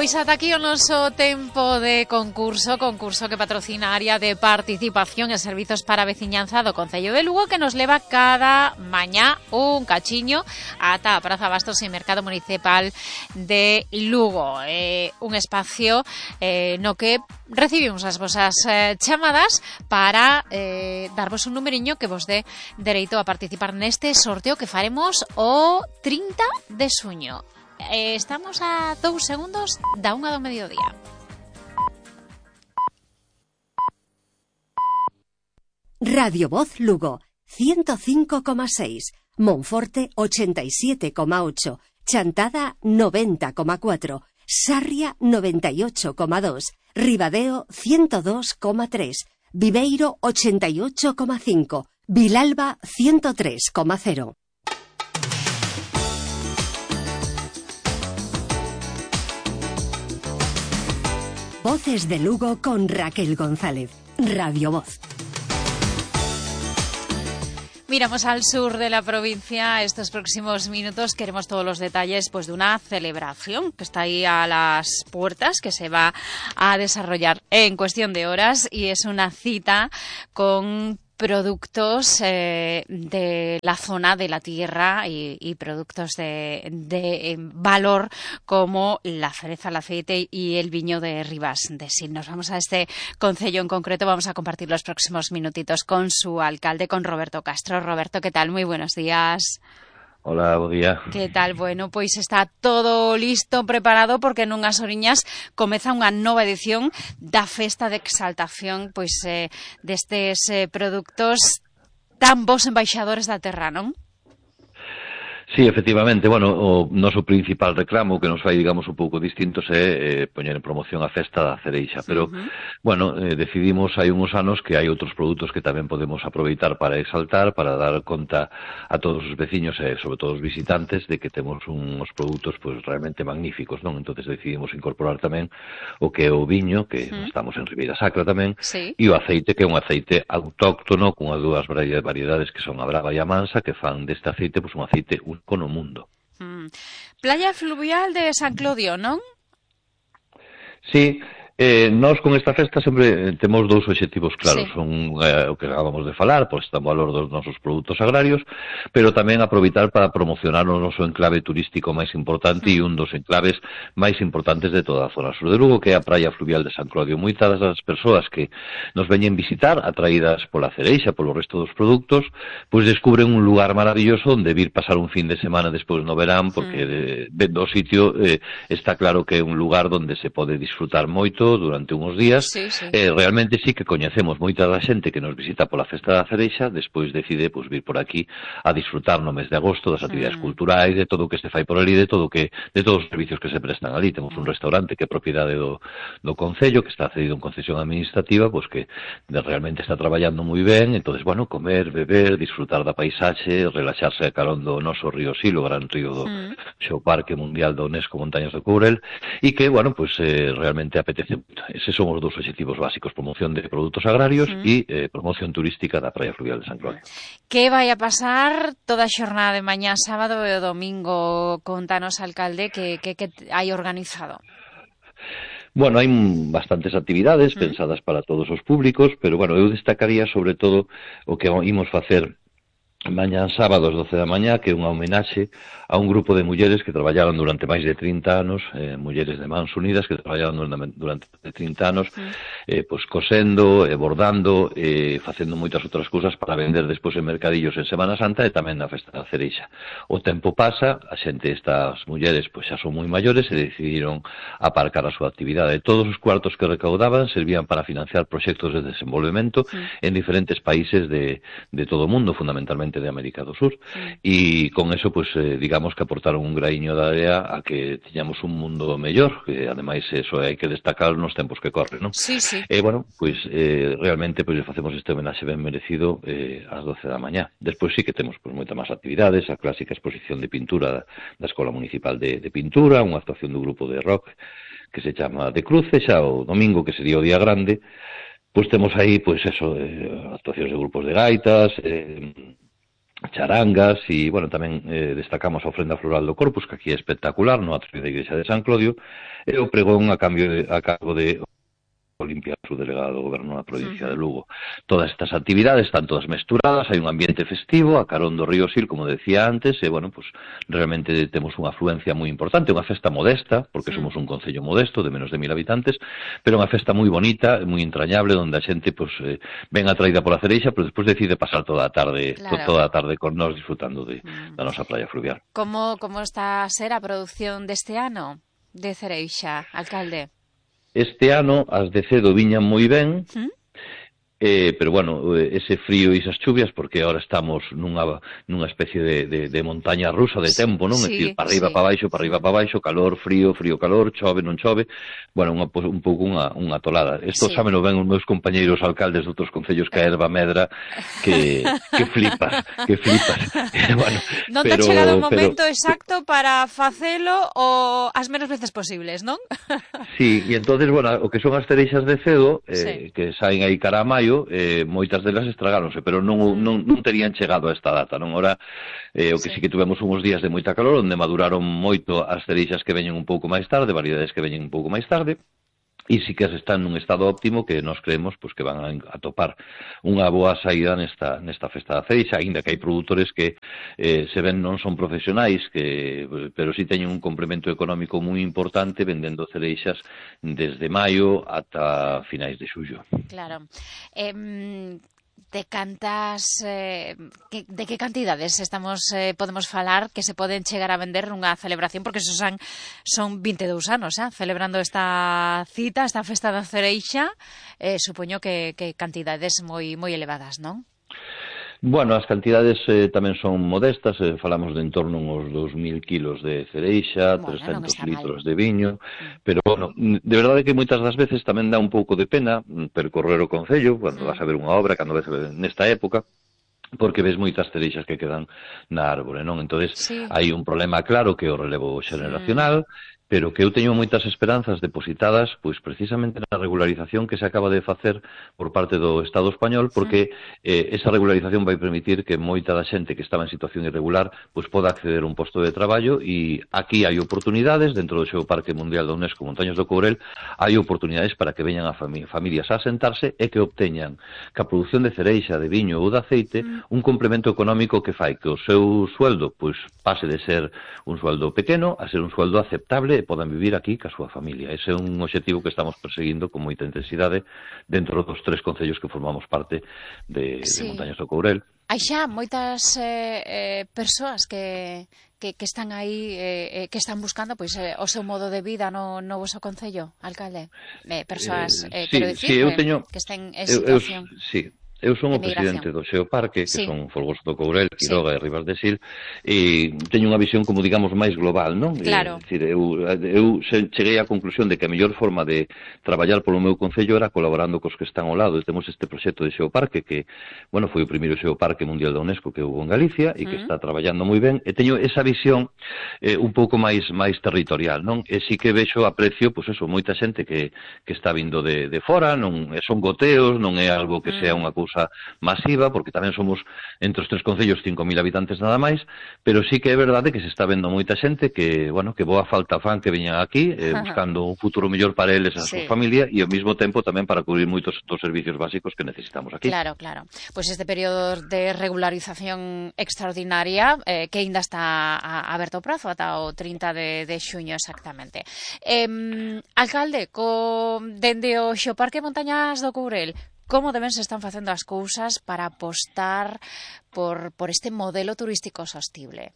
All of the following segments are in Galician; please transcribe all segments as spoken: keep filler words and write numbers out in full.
Pois ata aquí o noso tempo de concurso, concurso que patrocina a área de participación e servizos para a veciñanza do Concello de Lugo, que nos leva cada mañá un cachiño ata a Praza Bastos e Mercado Municipal de Lugo. Eh, un espacio eh, no que recibimos as vosas eh, chamadas para eh, darvos un numeriño que vos dé dereito a participar neste sorteo que faremos o trinta de xuño. Eh, estamos a dous segundos da unha do mediodía. Radio Voz Lugo, ciento cinco coma seis, Monforte ochenta y siete coma ocho, Chantada noventa coma cuatro, Sarria noventa y ocho coma dos, Ribadeo ciento dos coma tres, Viveiro ochenta y ocho coma cinco, Vilalba ciento tres coma cero. Voces de Lugo con Raquel González. Radio Voz. Miramos al sur de la provincia. Estos próximos minutos queremos todos los detalles pues de una celebración que está ahí a las puertas, que se va a desarrollar en cuestión de horas, y es una cita con productos eh, de la zona de la tierra y, y productos de, de valor como la cereza, el aceite y el viño de Ribas de Sil. Nos vamos a este concello en concreto, vamos a compartir los próximos minutitos con su alcalde, con Roberto Castro. Roberto, ¿qué tal? Muy buenos días. Hola, bo día. Que tal? Bueno, pois está todo listo, preparado, porque nunhas horiñas comeza unha nova edición da Festa de Exaltación pois eh, destes eh, produtos tan bons embaixadores da terra, non? Sí, efectivamente, bueno, o noso principal reclamo que nos fai, digamos, un pouco distintos é eh, poñer en promoción a festa da cereixa, pero, uh-huh. bueno, eh, decidimos hai uns anos que hai outros produtos que tamén podemos aproveitar para exaltar, para dar conta a todos os veciños e, sobre todo, os visitantes de que temos uns produtos, pues, realmente magníficos, non? Entonces decidimos incorporar tamén o que é o viño, que uh-huh. estamos en Ribeira Sacra tamén, sí. E o aceite, que é un aceite autóctono, cunha dúas variedades que son a brava e a mansa, que fan deste aceite, pues, un aceite un con o mundo. Mm. Playa fluvial de San Clodio, non? Sí, eh, nós con esta festa sempre temos dous obxectivos claros. Sí. Son eh, o que acabamos de falar, pois está o valor dos nosos produtos agrarios, pero tamén aproveitar para promocionar o noso enclave turístico máis importante mm. e un dos enclaves máis importantes de toda a zona sur de Lugo, que é a praia fluvial de San Clodio. Moitas das persoas que nos veñen visitar, atraídas pola cereixa, polo resto dos produtos, pois descubren un lugar maravilloso onde vir pasar un fin de semana despois no verán, porque mm. vendo o sitio eh, está claro que é un lugar onde se pode disfrutar moito durante uns días. Sí, sí. Eh, realmente sí que coñecemos moita da xente que nos visita pola festa da cereixa, despois decide pues, vir por aquí a disfrutar no mes de agosto das actividades mm. culturais, de todo o que se fai por ali, de todo que de todos os servicios que se prestan ali. Temos un restaurante que é propiedade do, do Concello, que está cedido en concesión administrativa, pues que realmente está traballando moi ben. Entonces, bueno, comer, beber, disfrutar da paisaxe, relaxarse a carón do noso río Sil, o gran río do mm. xeo Parque Mundial da UNESCO Montañas do Courel, e que, bueno, pues eh, realmente apetece. Eses son os dous obxectivos básicos: promoción de produtos agrarios e uh-huh. eh, promoción turística da praia fluvial de San Clodio. Que vai a pasar toda a xornada de mañá, sábado e o domingo? Contanos, alcalde, que, que, que hai organizado. Bueno, hai bastantes actividades uh-huh. pensadas para todos os públicos, pero, bueno, eu destacaría sobre todo o que imos facer mañá sábado ás doce da mañá, que é unha homenaxe a un grupo de mulleres que traballaron durante máis de trinta anos, eh, mulleres de Mans Unidas que traballaron durante trinta anos, mm. eh, pues, cosendo, eh, bordando, eh, facendo moitas outras cousas para vender despois en mercadillos en Semana Santa e tamén na festa da cereixa. O tempo pasa, a xente, estas mulleres, pues, xa son moi maiores e decidiron aparcar a súa actividade. Todos os cuartos que recaudaban servían para financiar proxectos de desenvolvemento mm. en diferentes países de, de todo o mundo, fundamentalmente de América do Sur, e con eso, pues, eh, digamos que aportaron un graiño de área a que tiñamos un mundo mellor, que ademais eso hai que destacar nos tempos que corren, non? Sí, sí. E, eh, bueno, pues, eh, realmente, pues, facemos este homenaxe ben merecido eh, ás doce da mañá. Despois sí que temos, pues, moitas máis actividades, a clásica exposición de pintura da Escola Municipal de, de Pintura, unha actuación do grupo de rock que se chama De Cruce, xa o domingo, que sería o día grande, pois temos aí, pois, eso, eh, actuacións de grupos de gaitas, eh, charangas e, bueno, tamén eh, destacamos a ofrenda floral do Corpus, que aquí é espectacular, no atrio da Igrexa de San Clodio, e o pregón a, cambio de, a cargo de Olimpia, su delegado do goberno na provincia uh-huh. de Lugo. Todas estas actividades están todas mesturadas, hai un ambiente festivo, a carón do río Sil, como decía antes, e, bueno, pues realmente temos unha afluencia moi importante, unha festa modesta, porque sí. somos un concello modesto, de menos de mil habitantes, pero unha festa moi bonita, moi entrañable, onde a xente, pues, eh, ven atraída pola cereixa, pero despois decide pasar toda a tarde, claro. toda a tarde con nós disfrutando de, mm. da nosa praia fluvial. Como, como está a ser a produción deste ano de cereixa, alcalde? Este ano as de cedo viñan moi ben, ¿Mm? eh, pero, bueno, ese frío e esas chuvias, porque agora estamos nunha, nunha especie de, de, de montaña rusa de tempo, non? Sí, é dicir, para arriba, sí. para baixo, para arriba, para baixo, calor, frío, frío, calor, chove, non chove, bueno, unha, un pouco unha, unha tolada. Isto sí. sábeno ben os meus compañeiros alcaldes de outros concellos que a erva medra, que, que flipas, que flipas. bueno, non te ha chegado o momento pero... exacto para facelo o as menos veces posibles, non? sí, e entonces, bueno, o que son as cereixas de cedo, eh, sí. que saen aí cara a maio, eh, moitas delas estragáronse, pero non, non, non terían chegado a esta data, non? Ora, eh, o que sí. sí que tuvemos uns días de moita calor, onde maduraron moito as cereixas que veñen un pouco máis tarde, variedades que veñen un pouco máis tarde, e sí que as están nun estado óptimo que nos creemos pues, que van a, a topar unha boa saída nesta, nesta festa da cereixa, aínda que hai produtores que eh, se ven non son profesionais, que, pero sí teñen un complemento económico moi importante vendendo cereixas desde maio ata finais de xullo. Claro. Eh, de cantas eh, que, de que cantidades estamos eh, podemos falar que se poden chegar a vender nunha celebración, porque eso son, son vinte e dous anos, eh, celebrando esta cita, esta festa da cereixa, eh, supoño que, que cantidades moi moi elevadas, non? Bueno, as cantidades eh, tamén son modestas, eh, falamos de en torno uns dous mil kilos de cereixa, bueno, trescentos litros mal. de viño, pero, bueno, de verdade que moitas das veces tamén dá un pouco de pena percorrer o concello, cando mm. vas a ver unha obra, cando ves nesta época, porque ves moitas cereixas que quedan na árbore, non? Entonces, sí. hai un problema claro que é o relevo xeneracional, mm. pero que eu teño moitas esperanzas depositadas pois precisamente na regularización que se acaba de facer por parte do Estado español, porque eh, esa regularización vai permitir que moita da xente que estaba en situación irregular pois poda acceder a un posto de traballo, e aquí hai oportunidades dentro do Xeoparque Mundial da UNESCO Montañas do Courel, hai oportunidades para que veñan a fami familias a asentarse e que obteñan ca produción de cereixa, de viño ou de aceite mm. un complemento económico que fai que o seu sueldo pois pase de ser un sueldo pequeno a ser un sueldo aceptable e podan vivir aquí ca súa familia. Ese é un objetivo que estamos perseguindo con moita intensidade dentro dos tres concellos que formamos parte de, sí. de Montañas do Courel. Hai xa moitas eh, eh, persoas que, que, que están aí, eh, que están buscando pois, eh, o seu modo de vida no, no vosso concello, alcalde. Eh, persoas, eh, sí, quero dicir, sí, eu teño, que estén en situación... Eu, eu, sí. Eu son o presidente do Xeoparque, que sí. son Folgoso do Courel, Quiroga sí. e Ribas de Sil, e teño unha visión, como digamos, máis global, non? Claro. É, decir, eu, eu cheguei á conclusión de que a mellor forma de traballar polo meu concello era colaborando cos que están ao lado. E temos este proxecto de Xeoparque, que, bueno, foi o primeiro Xeoparque Mundial da UNESCO que houve en Galicia, e que mm. está traballando moi ben, e teño esa visión eh, un pouco máis máis territorial, non? E sí que vexo, aprecio, pois eso, moita xente que, que está vindo de, de fora, non son goteos, non é algo que mm. sea unha cousa masiva, porque tamén somos entre os tres concellos cinco mil habitantes nada máis, pero sí que é verdade que se está vendo moita xente que, bueno, que boa falta fan que veñan aquí eh, buscando un futuro mellor para eles e a sí. súa familia, e ao mesmo tempo tamén para cubrir moitos dos servicios básicos que necesitamos aquí. Claro, claro. Pois pues este período de regularización extraordinaria eh, que ainda está aberto o prazo ata o trinta de, de xuño exactamente. Eh, alcalde, co, dende o Xeoparque Montañas do Courel, como deben se están facendo as cousas para apostar por, por este modelo turístico sostible?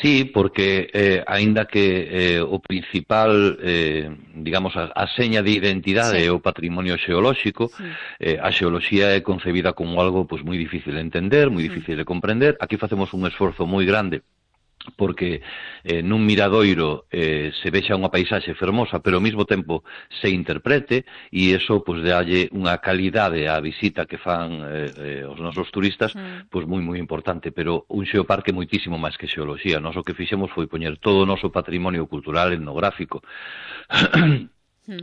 Sí, porque eh, aínda que eh, o principal, eh, digamos, a, a seña de identidade sí. é o patrimonio xeolóxico, sí. eh, a xeoloxía é concebida como algo pues, moi difícil de entender, moi difícil sí. de comprender. Aquí facemos un esforzo moi grande porque eh, nun miradoiro eh, se vexa unha paisaxe fermosa, pero ao mesmo tempo se interprete, e iso pois, dalle unha calidade á visita que fan eh, eh, os nosos turistas mm. pois moi moi importante. Pero un xeoparque moitísimo máis que xeoloxía. Nós o que fixemos foi poñer todo o noso patrimonio cultural, etnográfico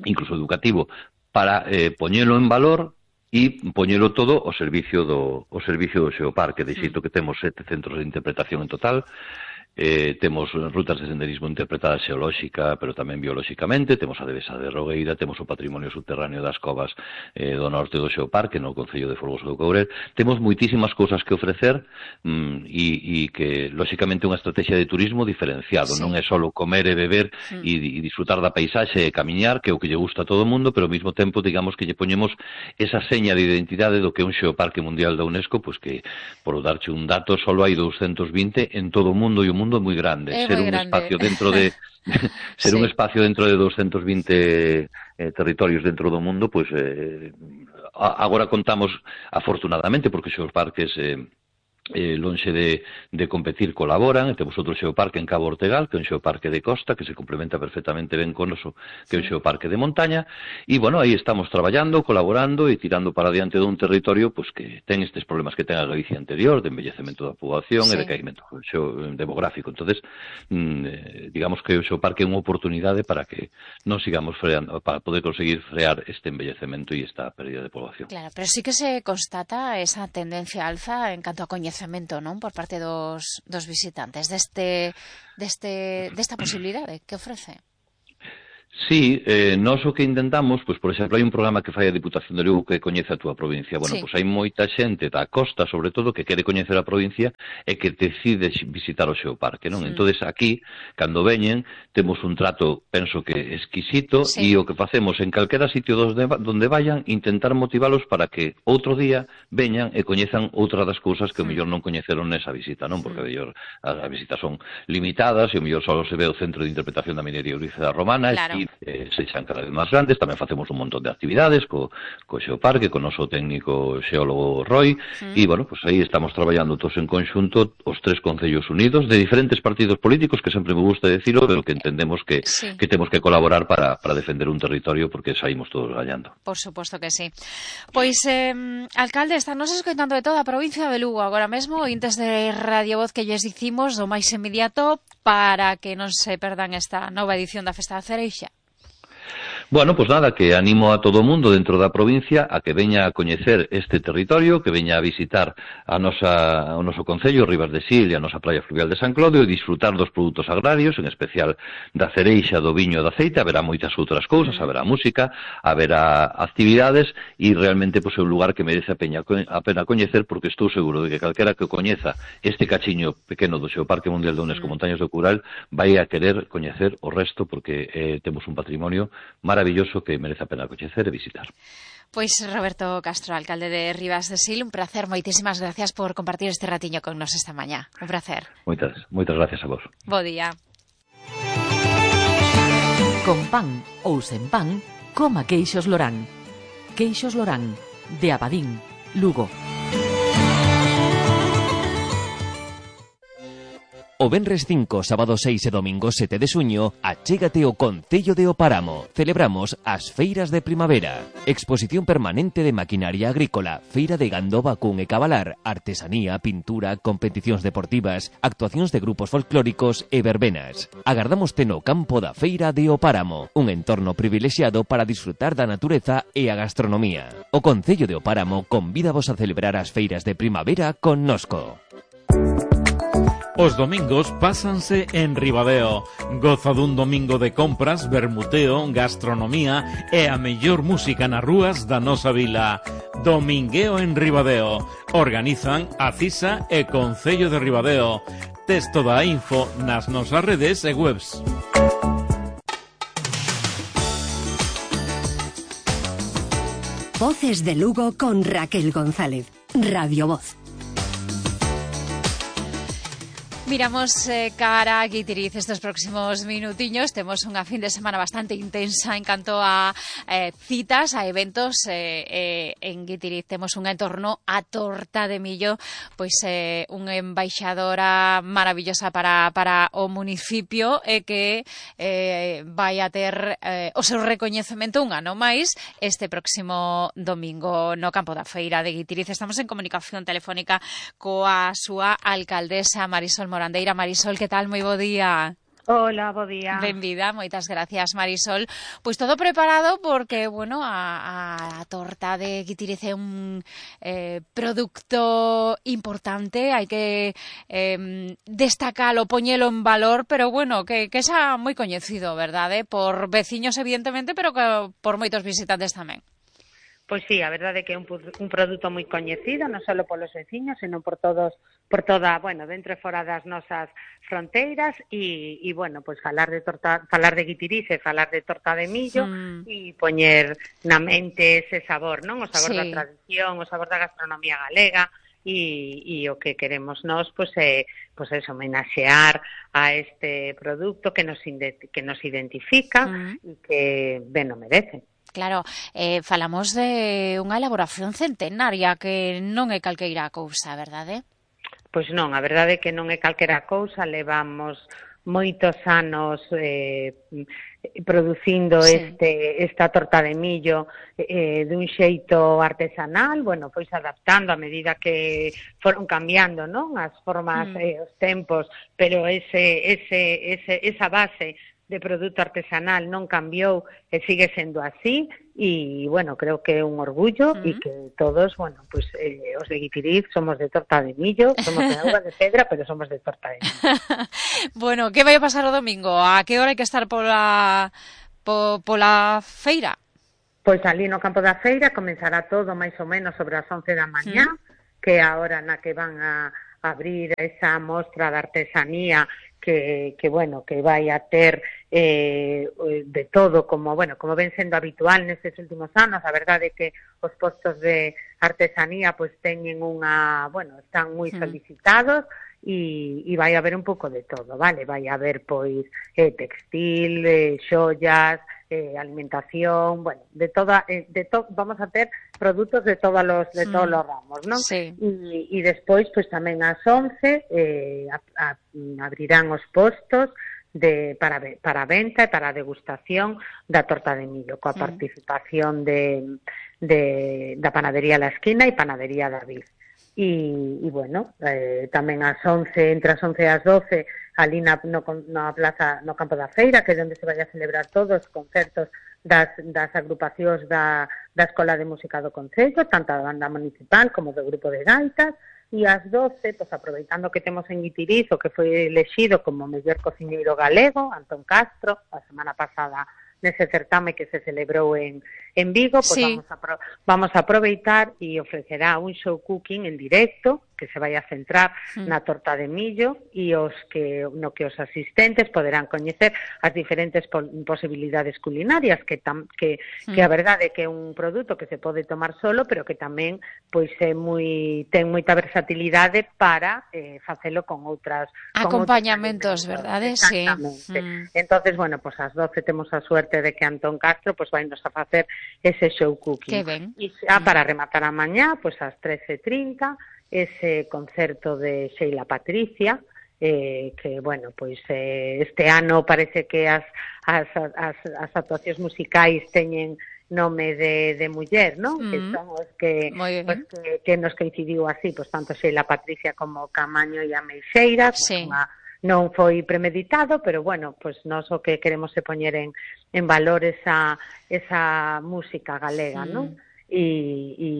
incluso educativo para eh, poñelo en valor e poñelo todo ao servicio do, ao servicio do Xeoparque. De xeito que temos sete centros de interpretación en total. Eh, temos rutas de senderismo interpretada xeolóxica, pero tamén biolóxicamente, temos a Devesa de Rogueira, temos o patrimonio subterráneo das covas eh, do norte do Xeoparque, no Concello de Folgoso do Courel. Temos moitísimas cousas que ofrecer mm, e, e que, lóxicamente, é unha estrategia de turismo diferenciado. Sí. Non é só comer e beber mm. e, e disfrutar da paisaxe e camiñar, que é o que lle gusta a todo o mundo, pero ao mesmo tempo, digamos, que lle poñemos esa seña de identidade do que é un Xeoparque Mundial da UNESCO, pois que, por darche un dato, só hai doscientos vinte en todo o mundo, e o mundo mundo moi grande, é ser moi un grande. espacio dentro de ser sí. un espacio dentro de doscientos vinte eh, territorios dentro do mundo, pois eh, agora contamos afortunadamente porque os parques eh, eh, lonxe de, de competir colaboran, e temos outro xeoparque en Cabo Ortegal, que é un xeoparque de costa, que se complementa perfectamente ben con oso, que é un xeoparque de montaña, e, bueno, aí estamos traballando, colaborando e tirando para diante dun territorio pues, que ten estes problemas que ten a Galicia anterior, de envellecemento da poboación sí. e de caimento demográfico. Entonces, mm, digamos que o xeoparque é unha oportunidade para que non sigamos freando, para poder conseguir frear este envellecemento e esta pérdida de poboación. Claro, pero sí que se constata esa tendencia alza en canto a coñecemento, non? Por parte dos, dos visitantes deste, deste, desta posibilidade que ofrece. Sí, eh, nós o que intentamos, pois, por exemplo, hai un programa que fai a Diputación de Lugo que coñece a túa provincia. Bueno, sí. pois hai moita xente da costa, sobre todo, que quere coñecer a provincia e que decide visitar o xeoparque, non? Sí. Entonces, aquí, cando veñen, temos un trato, penso que exquisito, sí. e o que facemos en calquera sitio donde vayan, intentar motivalos para que outro día veñan e coñezan outra das cousas que o mellor non coñeceron nesa visita, non? Porque, o mellor, as visitas son limitadas e o mellor só se ve o Centro de Interpretación da Minería Euríceda Romana, claro. e Eh, sexan cada vez máis grandes. Tamén facemos un montón de actividades co, co xeoparque, co noso técnico xeólogo Roy, mm. e, bueno, pues aí estamos traballando todos en conxunto os tres concellos unidos, de diferentes partidos políticos, que sempre me gusta decirlo, pero que entendemos que, sí. que temos que colaborar para, para defender un territorio, porque saímos todos gañando. Por suposto que sí. Pois, eh, alcalde, estamos escoitando de toda a provincia de Lugo agora mesmo, intes de Radio Voz que lles dicimos do máis inmediato para que non se perdan esta nova edición da Festa da Cereixa. Bueno, pues nada, que animo a todo o mundo dentro da provincia a que veña a coñecer este territorio, que veña a visitar a nosa, o noso concello, Ribas de Sil, e a nosa praia fluvial de San Clodio, e disfrutar dos produtos agrarios, en especial da cereixa, do viño e do aceite. Haberá moitas outras cousas, haberá música, haberá actividades, e realmente pues, é un lugar que merece a, peña, a pena coñecer, porque estou seguro de que calquera que coñeza este cachiño pequeno do Xeoparque Mundial da UNESCO Montañas do Cural vai a querer coñecer o resto, porque eh, temos un patrimonio maravilloso que merece a pena coñecer e visitar. Pois Roberto Castro, alcalde de Ribas de Sil, un placer, moitísimas gracias por compartir este ratiño con nos esta mañá. Un placer. Moitas, moitas gracias a vos. Bo día. Con pan ou sen pan, coma queixos Lorán. Queixos Lorán, de Abadín, Lugo. O venres cinco, sábado seis e domingo sete de xuño, achégate ao Concello de O Páramo. Celebramos as feiras de primavera. Exposición permanente de maquinaria agrícola, feira de gando, vacún e cabalar, artesanía, pintura, competicións deportivas, actuacións de grupos folclóricos e verbenas. Agardámoste no campo da feira de O Páramo, un entorno privilexiado para disfrutar da natureza e a gastronomía. O Concello de O Páramo convídavos a celebrar as feiras de primavera connosco. Os domingos pásanse en Ribadeo. Goza dun domingo de compras, vermuteo, gastronomía e a mellor música nas rúas da nosa vila. Domingueo en Ribadeo. Organizan a CISA e Concello de Ribadeo. Tes toda a info nas nosas redes e webs. Voces de Lugo con Raquel González. Radio Voz. Miramos eh, cara a Guitiriz estes próximos minutiños. Temos unha fin de semana bastante intensa en canto a eh, citas, a eventos eh, eh, en Guitiriz. Temos un entorno a torta de millo, pois eh, unha embaixadora maravillosa para, para o municipio e eh, que eh, vai a ter eh, o seu recoñecemento un ano máis este próximo domingo no campo da feira de Guitiriz. Estamos en comunicación telefónica coa súa alcaldesa Marisol Morandeira. Marisol, que tal? Moi bo día. Hola, bo día. Benvida, moitas gracias, Marisol. Pois todo preparado porque, bueno, a, a torta de Guitiriz é un eh, producto importante, hai que eh, destacalo, poñelo en valor, pero bueno, que, que xa moi coñecido, verdade? Por veciños, evidentemente, pero que por moitos visitantes tamén. Pois sí, a verdade é que é un, un produto moi coñecido, non só polos veciños, senón por todos, por toda, bueno, dentro e fora das nosas fronteiras e, e bueno, pois falar de torta, falar de Guitiriz e falar de torta de millo mm. e poñer na mente ese sabor, non? O sabor sí. da tradición, o sabor da gastronomía galega e, e o que queremos nós, pois é, pois é homenaxear a este produto que nos, que nos identifica mm. e que ben o merece. Claro, eh, falamos de unha elaboración centenaria que non é calqueira cousa, verdade? Pois non, a verdade é que non é calquera cousa, levamos moitos anos eh, producindo sí. este esta torta de millo eh, dun xeito artesanal, bueno, pois adaptando a medida que foron cambiando, non? As formas, mm. eh, os tempos, pero ese ese ese esa base de produto artesanal non cambiou e sigue sendo así e, bueno, creo que é un orgullo uh-huh. e que todos, bueno, pues eh, os de Guitiriz somos de torta de millo, somos de auga de pedra, pero somos de torta de millo. Bueno, que vai a pasar o domingo? A que hora hai que estar pola, po, pola feira? Pois ali no campo da feira comenzará todo máis ou menos sobre as once da mañá, uh-huh. que é a hora na que van a abrir esa mostra de artesanía que, que bueno, que vai a ter eh, de todo, como bueno, como ven sendo habitual nestes últimos anos. A verdade é que os postos de artesanía pois teñen unha, bueno, están moi solicitados e, e vai haber un pouco de todo, vale? Vai haber pois eh, textil, eh, xollas, eh, alimentación, bueno, de toda, eh, de to, vamos a ter produtos de todos los de mm. todos los ramos, ¿no? Sí. E, e despois, pois tamén ás once eh, a, a, abrirán os postos de para para venta e para degustación da torta de millo, coa mm. participación de, de da panadería La Esquina e panadería David. E, e bueno, eh, tamén ás once, entre as once e as doce, ali na, no, na plaza, no campo da feira, que é onde se vai a celebrar todos os concertos das, das agrupacións da, da Escola de Música do Concello, tanto da banda municipal como do grupo de gaitas, e ás doce, pues, aproveitando que temos en Guitiriz o que foi elexido como mellor cociñeiro galego, Antón Castro, a semana pasada nese certame que se celebrou en, en Vigo, pues sí. vamos, a, vamos a aproveitar e ofrecerá un show cooking en directo que se vai a centrar mm. na torta de millo e os que no que os asistentes poderán coñecer as diferentes po posibilidades culinarias que tam, que mm. que a verdade é que é un produto que se pode tomar solo, pero que tamén pois é moi ten moita versatilidade para eh, facelo con outras acompañamentos, con verdade? Exactamente. Sí. Mm. Entonces, bueno, pues ás doce temos a suerte de que Antón Castro pues vai nos a facer ese show cooking. Que ben. E xa para rematar a mañá, pues ás trece e trinta ese concerto de Sheila Patricia, eh, que, bueno, pois eh, este ano parece que as, as, as, as actuacións musicais teñen nome de, de muller, non? Mm. Que son os que, os que, que nos coincidiu así, pois tanto Sheila Patricia como Camaño e a Meixeira, sí. unha, non foi premeditado, pero bueno, pois nós o que queremos é poñer en, en valor esa, esa música galega, mm. non? E, e,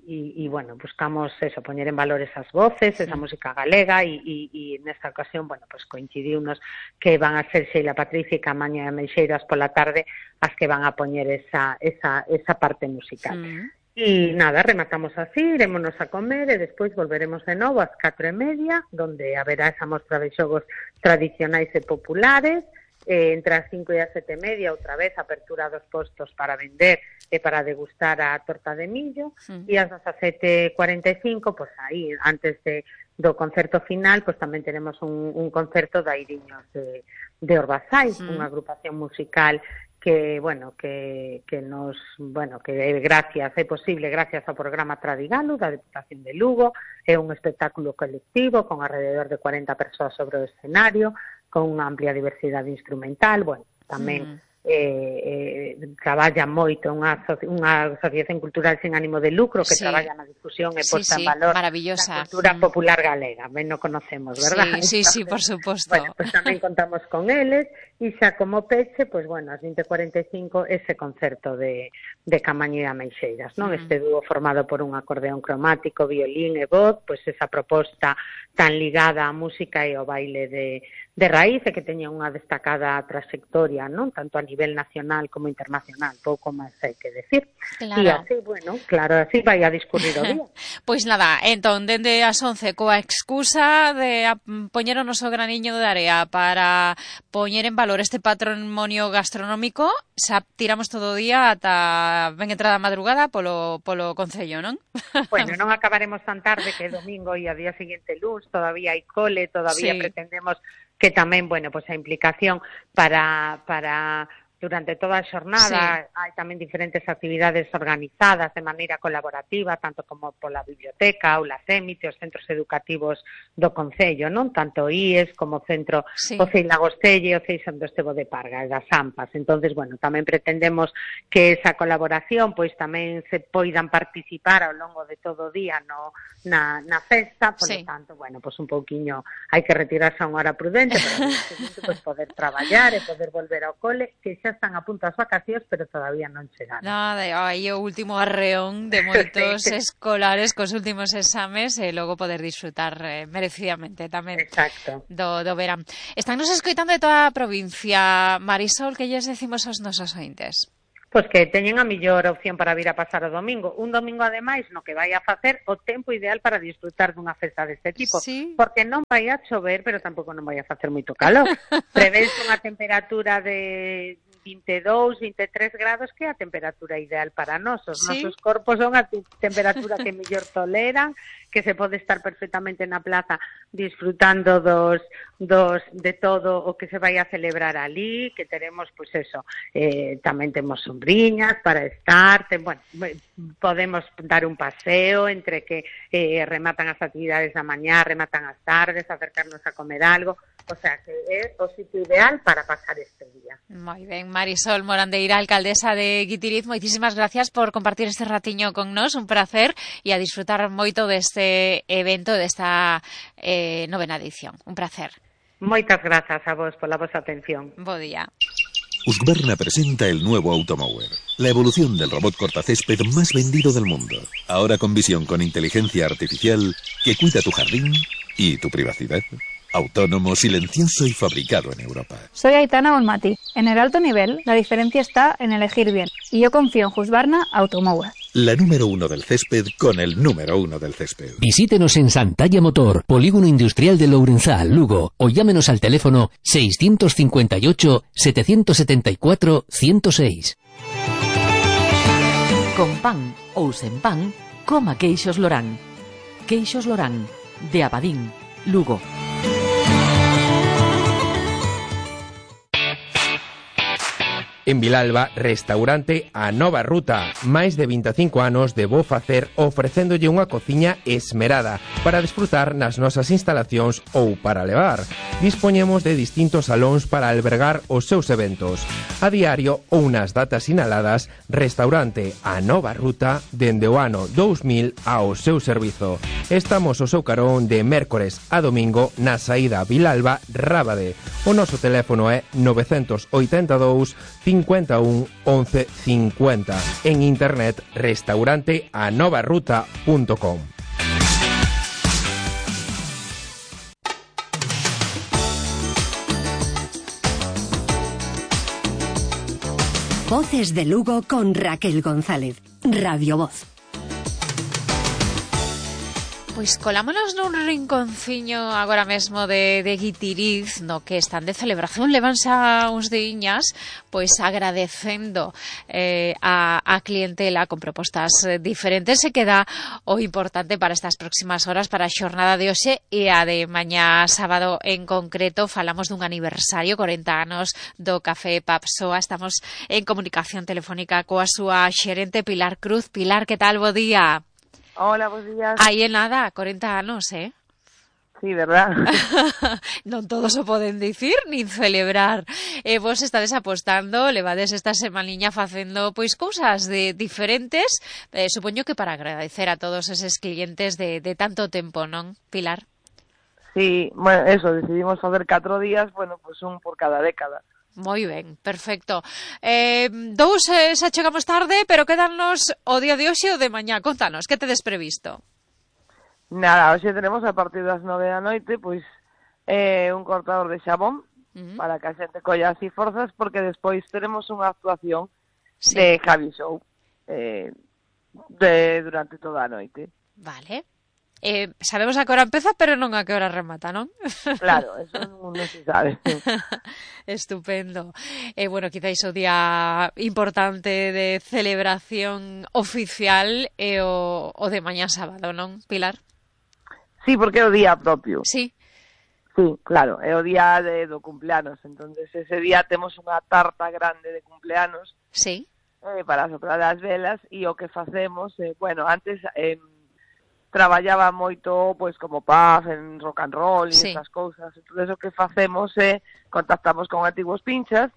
e, e, bueno, buscamos eso, poñer en valor esas voces, esa sí. música galega e, e, e nesta ocasión, bueno, pues coincidiunos que van a ser Sheila Patricia e Camaño e Meixeiras pola tarde as que van a poñer esa, esa, esa parte musical. E sí. nada, rematamos así, irémonos a comer e despois volveremos de novo ás catro e media, donde haberá esa mostra de xogos tradicionais e populares. Eh, entre as cinco e as sete e media, outra vez, apertura dos postos para vender e para degustar a torta de millo, sí. e ás dezasete e cuarenta e cinco, pois pues, aí, antes de, do concerto final, pois pues, tamén tenemos un, un concerto de Airiños de, de Orbazai, sí. unha agrupación musical que, bueno, que, que nos, bueno, que gracias, é posible gracias ao programa Tradigalo da Deputación de Lugo, é un espectáculo colectivo con alrededor de cuarenta persoas sobre o escenario, con unha amplia diversidade instrumental, bueno, tamén mm. eh, eh, traballa moito unha, asoci unha asociación cultural sin ánimo de lucro que sí. traballa na difusión e sí, posta sí, en valor maravillosa. da cultura mm. popular galega, ben no conocemos, verdad? Sí, sí, sí, por suposto. Bueno, pues tamén contamos con eles e xa como peche, pues bueno, ás vinte cuarenta e cinco ese concerto de, de Camaño e Ameixeiras, non? Mm. Este dúo formado por un acordeón cromático, violín e voz, pues esa proposta tan ligada á música e ao baile de de raíz e que teña unha destacada trayectoria, non? Tanto a nivel nacional como internacional, pouco máis hai que decir. Claro. E así, bueno, claro, así vai a discurrir o día. Pois nada, entón, dende as once, coa excusa de poñer o noso graniño de area para poñer en valor este patrimonio gastronómico, xa tiramos todo o día ata ben entrada a madrugada polo, polo Concello, non? Bueno, non acabaremos tan tarde que domingo e a día seguinte luz, todavía hai cole, todavía sí. pretendemos que tamén, bueno, pues a implicación para para durante toda a xornada, sí. hai tamén diferentes actividades organizadas de maneira colaborativa, tanto como pola biblioteca, aulas Emite, os centros educativos do Concello, non? Tanto I E S como o Centro sí. o Cei Lagostelle, o Cei Santo Estevo de Parga e das Ampas. Entonces, bueno, tamén pretendemos que esa colaboración pois tamén se poidan participar ao longo de todo o día no, na, na festa, por sí. lo tanto, bueno, pois un pouquiño hai que retirarse a unha hora prudente, pero seguinte, pois poder traballar e poder volver ao cole, que xa están a punto as vacacións, pero todavía non chegaron. Nada, aí o último arreón de moitos escolares cos últimos exames e logo poder disfrutar eh, merecidamente tamén Exacto. do, do verán. Están nos escoitando de toda a provincia. Marisol, que lles decimos aos nosos ointes? Pois que teñen a mellor opción para vir a pasar o domingo. Un domingo, ademais, no que vai a facer o tempo ideal para disfrutar dunha festa deste tipo. Sí. Porque non vai a chover, pero tampouco non vai a facer moito calor. Prevese unha temperatura de vinte e dous, vinte e tres grados, que é a temperatura ideal para nós. Os sí. nosos corpos son a temperatura que mellor toleran, que se pode estar perfectamente na plaza disfrutando dos, dos de todo o que se vai a celebrar ali, que teremos, pois pues eso, eh, tamén temos sombriñas para estar, ten, bueno, podemos dar un paseo entre que eh, rematan as actividades da mañá, rematan as tardes, acercarnos a comer algo, o sea, que é o sitio ideal para pasar este día. Moi ben, Marisol Morandeira, alcaldesa de Guitiriz, moitísimas gracias por compartir este ratiño con nos, un placer, e a disfrutar moito deste evento, desta eh, novena edición. Un placer. Moitas grazas a vos pola vosa atención. Bo día. Husqvarna presenta el nuevo Automower, la evolución del robot cortacésped más vendido del mundo. Ahora con visión con inteligencia artificial que cuida tu jardín y tu privacidad. Autónomo, silencioso y fabricado en Europa. Soy Aitana Bonmati. En el alto nivel, la diferencia está en elegir bien. Y yo confío en Husqvarna Automower. La número uno del césped con el número uno del césped. Visítenos en Santalla Motor, Polígono Industrial de Lourenzá, Lugo, o llámenos al teléfono seiscientos cincuenta y ocho, setecientos setenta y cuatro, ciento seis. Con pan ou sen pan, coma queixos Lorán. Queixos Lorán, de Abadín, Lugo. En Vilalba, restaurante A Nova Ruta. Máis de vinte e cinco anos de bo facer ofrecéndolle unha cociña esmerada para desfrutar nas nosas instalacións ou para levar. Dispoñemos de distintos salóns para albergar os seus eventos. A diario ou nas datas sinaladas, restaurante A Nova Ruta dende o ano dous mil ao seu servizo. Estamos ao seu carón de mércores a domingo na saída Vilalba-Rábade. O noso teléfono é novecientos oitenta e dous, cincuenta e un, once cincuenta. En internet, restaurante a nova ruta punto com. Voces de Lugo con Raquel González. Radio Voz. Pois colámonos nun rinconciño agora mesmo de, de Guitiriz, no que están de celebración, levanse uns diñas, pois agradecendo eh, a, a clientela con propostas diferentes. Se queda o importante para estas próximas horas, para a xornada de hoxe e a de mañá sábado en concreto. Falamos dun aniversario, corenta anos do Café Papsoa. Estamos en comunicación telefónica coa súa xerente Pilar Cruz. Pilar, que tal? Bo día. Hola, bons días. Aí en nada, corenta anos, eh? sí, verdad? Non todos o poden dicir, nin celebrar. E vos estades apostando, levades esta semaniña facendo pois cousas de diferentes, eh, supoño que para agradecer a todos eses clientes de, de tanto tempo, non, Pilar? Sí, bueno, eso, decidimos facer catro días, bueno, pues un por cada década. Moi ben, perfecto. Eh, dous eh, xa chegamos tarde, pero quedannos o día de hoxe ou de mañá. Contanos, que tedes previsto? Nada, hoxe tenemos a partir das nove da noite, pois, eh, un cortador de xabón, uh-huh. para que a xente colla así forzas, porque despois teremos unha actuación sí. de Javi Show eh, de, durante toda a noite. Vale. Eh, sabemos a que hora empeza, pero non a que hora remata, non? Claro, eso non, non se sabe. Estupendo. Eh, bueno, quizáis o día importante de celebración oficial é o, o de mañá sábado, non, Pilar? Sí, porque é o día propio. Sí. Sí, claro, é o día de, do cumpleanos, entonces ese día temos unha tarta grande de cumpleanos. Sí. Eh, para soprar as velas, e o que facemos, eh, bueno, antes... Eh, traballaba moito, pois, como pub, en rock and roll e sí. esas cousas. Entón, o que facemos é, contactamos con antigos pinchas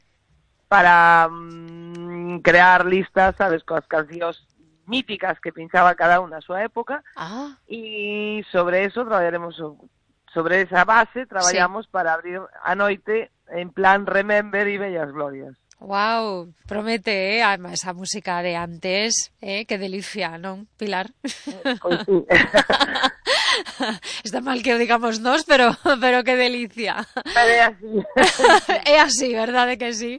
para mm, crear listas, sabes, coas cancións míticas que pinchaba cada unha na súa época. Ah. E sobre eso traballaremos, sobre esa base, traballamos sí. para abrir a noite en plan Remember e Bellas Glorias. Wow, promete, eh, además esa música de antes, eh, que delicia, non, Pilar? Pois sí. Está mal que o digamos nós, pero pero que delicia. Pero é así. É así, verdade que sí?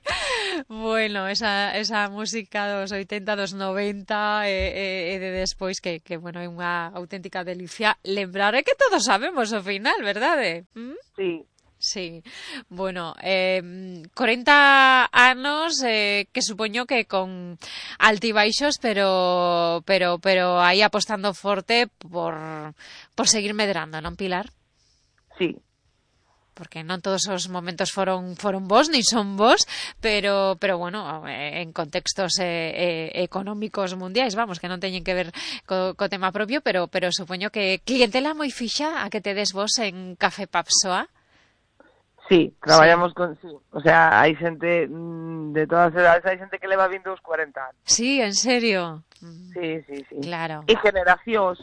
Bueno, esa esa música dos oitenta, dos noventa e, e, e de despois que, que bueno, é unha auténtica delicia. Lembrar é que todos sabemos o final, verdade? ¿Mm? Sí. Sí, bueno, eh, corenta anos eh, que supoño que con altibaixos, pero pero pero aí apostando forte por por seguir medrando, non, Pilar? Sí. Porque non todos os momentos foron foron bons, ni son bons, pero pero bueno, en contextos eh, eh, económicos mundiais, vamos, que non teñen que ver co, co tema propio, pero pero supoño que clientela moi fixa a que tedes vos en Café Papsoa. Sí, traballamos sí. con... Sí. O sea, hai xente mmm, de todas as edades, hai xente que leva vindo os cuarenta anos. Sí, en serio? Sí, sí, sí. Claro. E generacións.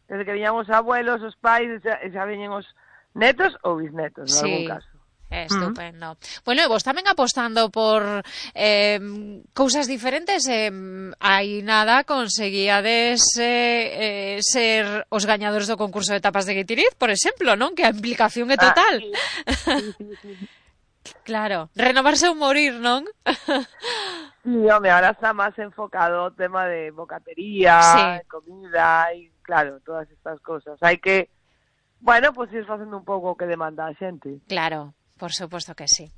Desde que viñamos abuelos, os pais, xa, xa viñen os netos ou bisnetos, en sí. algún caso. Estupendo. Uh-huh. Bueno, e vos tamén apostando por eh, cousas diferentes, eh, hai nada conseguíades eh, eh, ser os gañadores do concurso de tapas de Guitiriz, por exemplo, non? Que a implicación é total. Ah, sí. Sí, sí, sí. Claro, renovarse ou morir, non? Sí, home, ahora está máis enfocado o tema de bocatería, sí. comida e, claro, todas estas cosas. Hai que, bueno, pues ir facendo un pouco o que demanda a xente. Claro. Por suposto que sí.